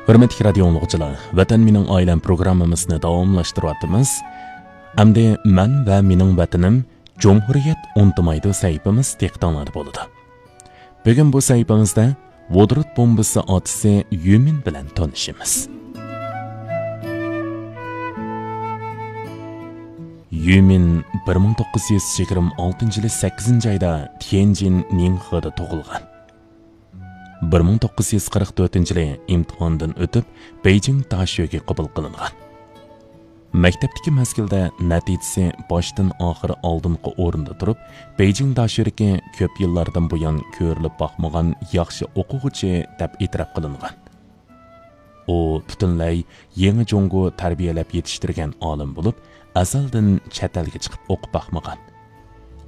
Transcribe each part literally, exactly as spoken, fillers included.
ھۆرمەتلىك رادىيو ئاڭلىغۇچىلار، ۋەتەن مېنىڭ ئائىلەم پروگراممىمىزنى داۋاملاشتۇرۇۋاتىمىز. ئەمدى مەن ۋە مېنىڭ ۋەتىنىم، جۇمھۇرىيەت ئۇنتۇمايدۇ سەھىپىمىز دىققىتىڭلاردا بولىدۇ. بۈگۈن بۇ سەھىپىمىزدە ۋودورود بومبىسى ئاتىسى يۈمىن بىلەن تونۇشىمىز. يۈمىن بىر مىڭ توققۇز يۈز يىگىرمە ئالتىنچى يىلى سەككىزىنچى ئايدا تيەنجىن نىڭخېدا تۇغۇلغان. بىر مىڭ توققۇز يۈز قىرىق تۆتىنچى يىلى ئىمتىھاندىن ئۆتۈپ، بېيجىڭ داشۆگە قوبۇل قىلىنغان. مەكتەپتىكى مەزگىلدە نەتىجىسى باشتىن ئاخىر ئالدىنقى ئورۇندا تۇرۇپ، بېيجىڭ داشۆرىكى كۆپ يىللاردىن بۇيان كۆرۈلۈپ باقمىغان ياخشى ئوقۇغۇچى دەپ ئېتىراپ قىلىنغان. ئۇ پۈتۈنلەي يېڭى جۇڭگو تەربىيەلەپ يېتىشتۈرگەن ئالىم بولۇپ، ئەزەلدىن چەت ئەلگە چىقىپ ئوقۇپ باقمىغان.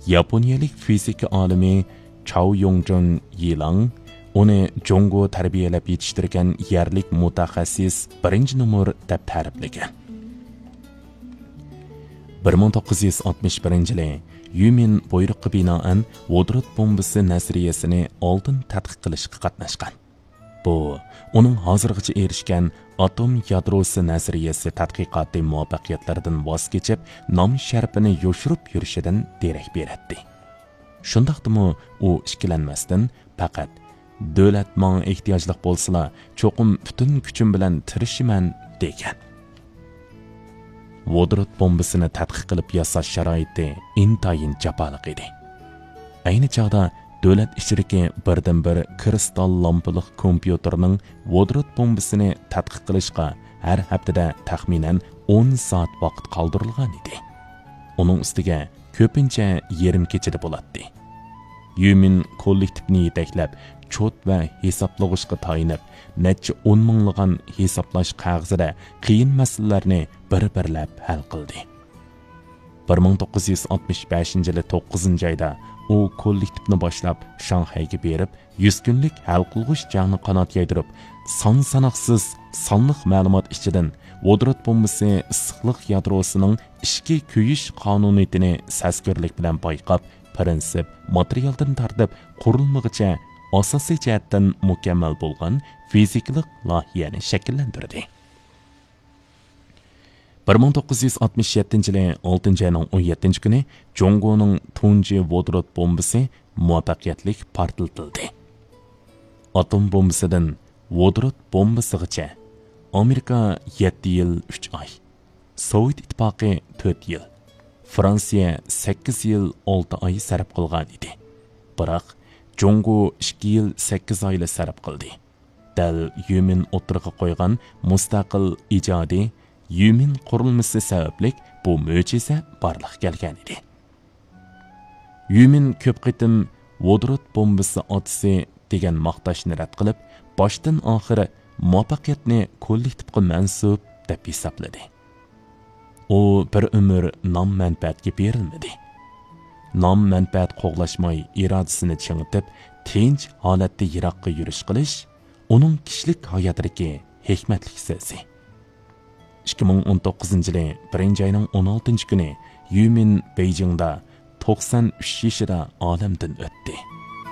ياپونىيەلىك فىزىكا ئالىمى چاۋ يوڭجۇن يىلاڭ ئۇنى جۇڭگو تەربىيەلەپ يېتىشتۈرگەن يەرلىك مۇتەخەسسىس بىرىنچى نومۇر دەپ تەرىپلىگەن. بىر مىڭ توققۇز يۈز ئاتمىش بىرىنچى يىلى يۈمىن بۇيرۇققا بىنائەن ۋودورود بومبىسى نەزەرىيەسىنى ئالدىن تەتقىق قىلىشقا قاتناشقان. بۇ، ئۇنىڭ ھازىرغىچە ئېرىشكەن ئاتوم يادروسى نەزەرىيەسى تەتقىقاتى مۇۋەپپەقىيەتلىرىدىن ۋاز كېچىپ، نام شەرىپىنى يوشۇرۇپ يۈرۈشىدىن دېرەك بېرەتتى. شۇنداقتىمۇ ئۇ ئىككىلەنمەستىن، پەقەت «دۆلەت ماڭا ئېھتىياجلىق بولسىلا، چوقۇم پۈتۈن كۈچۈم بىلەن تىرىشىمەن» دېگەن. ۋودورود بومبىسىنى تەتقىق قىلىپ ياساش شارائىتى ئىنتايىن جاپالىق ئىدى. ئەينى چاغدا دۆلەت ئىچىدىكى بىردىنبىر كىرىستال لامپىلىق كومپيۇتېرنىڭ ۋودورود بومبىسىنى تەتقىق قىلىشقا ھەر ھەپتىدە تەخمىنەن ئون سائەت ۋاقىت قالدۇرۇلغان ئىدى. ئۇنىڭ ئۈستىگە كۆپىنچە يېرىم كېچىدە بولاتتى. يۈمىن كوللېكتىپنى يېتەكلەپ، چوت ۋە ھېسابلىغۇچقا تايىنىپ، نەچچە ئون مىڭلىغان ھېسابلاش قەغىزىدە قىيىن مەسىلىلەرنى بىر-بىرلەپ ھەل قىلدى. بىر مىڭ توققۇز يۈز ئاتمىش بەشىنچى يىلى توققۇزىنچى ئايدا ئۇ كوللېكتىپنى باشلاپ، شاڭخەيگە بېرىپ، يۈز كۈنلۈك ھەل قىلغۇچ جەڭنى قانات يايدۇرۇپ، سان ساناقسىز سانلىق مەلۇمات ئىچىدىن ۋودورود بومبىسى ئىسسىقلىق يادروسىنىڭ ئىچكى كۆيۈش قانۇنىيىتىنى سەزگۈرلۈك بىلەن بايقاپ، پىرىنسىپ، ماتېرىيالدىن تارتىپ قۇرۇلمىغىچە ئاساسىي جەھەتتىن مۇكەممەل بولغان فىزىكىلىق لايىھەنى شەكىللەندۈردى. بىر مىڭ توققۇز يۈز ئاتمىش يەتتىنچى يىلى ئالتىنچى ئاينىڭ ئون يەتتىنچى كۈنى جۇڭگونىڭ تۇنجى ۋودورود بومبىسى مۇۋەپپەقىيەتلىك پارتلىتىلدى. ئاتوم بومبىسىدىن ۋودورود بومبىسىغىچە ئامېرىكا يەتتە يىل ئۈچ ئاي، سوۋېت ئىتتىپاقى تۆت يىل، فرانسىيە سەككىز يىل ئالتە ئاي سەرپ قىلغان ئىدى. بىراق، جۇڭگو ئىككى يىل سەككىز ئايلا سەرپ قىلدى. دەل يۈمىن ئوتتۇرىغا قويغان مۇستەقىل ئىجادىي يۈمىن قۇرۇلمىسى سەۋەبلىك بۇ مۆجىزە بارلىققا كەلگەن ئىدى. يۈمىن كۆپ قېتىم «ۋودورود بومبىسى ئاتىسى» دېگەن ماختاشنى رەت قىلىپ، باشتىن ئاخىر مۇۋەپپەقىيەتنى كوللېكتىپقا مەنسۇپ دەپ ھېسابلىدى. ئۇ بىر ئۆمۈر نام-مەنپەئەتكە بېرىلمىدى. نام-مەنپەئەت قوغلاشماي، ئىرادىسىنى چىڭىتىپ، تىنچ ھالەتتە يىراققا يۈرۈش قىلىش ئۇنىڭ كىشىلىك ھاياتىدىكى ھېكمەتلىك سۆزى. ئىككى مىڭ ئون توققۇزىنچى يىلى بىرىنچى ئاينىڭ ئون ئالتىنچى كۈنى يۈمىن بېيجىڭدا توقسان ئۈچ يېشىدا ئالەمدىن ئۆتتى.